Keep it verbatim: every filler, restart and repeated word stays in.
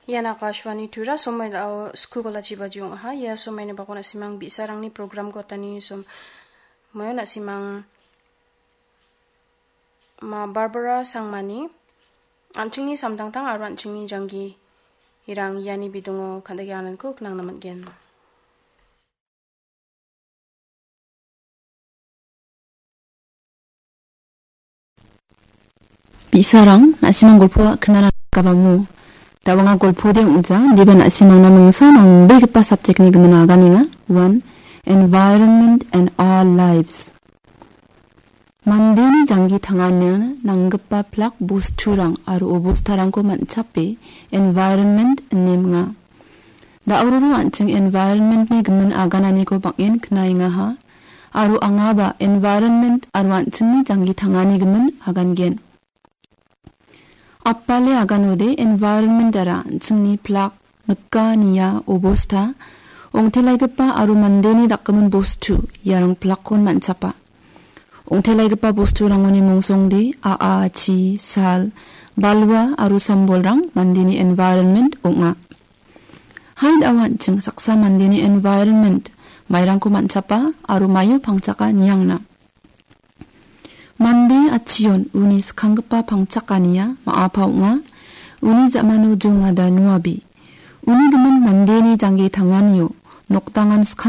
Ian Akashvani Tura, somoi dao sku balachi baji ong·aha. Ia somoini bakon na·simang bi·sarangni program gotani som-, moyo na·simang ma Barbara Sangmani, an·chingni samtangtang aro an·chingni janggi irang iani bidongo kandake ananko knangna man·gen. Bi·sarang, na·simang golpo knana gabamo. Da anga golpo de ong·ja, diba na·simangna mingsa nambegipa subject-ni gimin aganenga. One, environment and our lives. Mandeni janggi tangani nanggipa plak bosturang aro obostarangko man·chape environment ine minga. Da·ororo an·ching environment-ni gimin agananiko bang·en knaengaha, aro angaba environment aro an·chingni janggi tangani gimin agangen. Apale aganode environment-ara an·chingni plak, nika, nia, obosta, ongtelaigipa aro mandeni dakgimin bostu, iarang plakkon man·chapa. Ongtelaigipa bosturangoni mongsongde a·a, chi, sal, balwa aro sambolrang mandeni environment ong·a. Haid awa an·ching saksa mandeni environment mairangko man·chapa aro maio pangchaka niangna. Mande atchion uni skanggipa pangchakania ma·apa ong·a. Uni ja·mano jongada nuabi. Uni gimin mandeni jangge tanganio nokdangan skang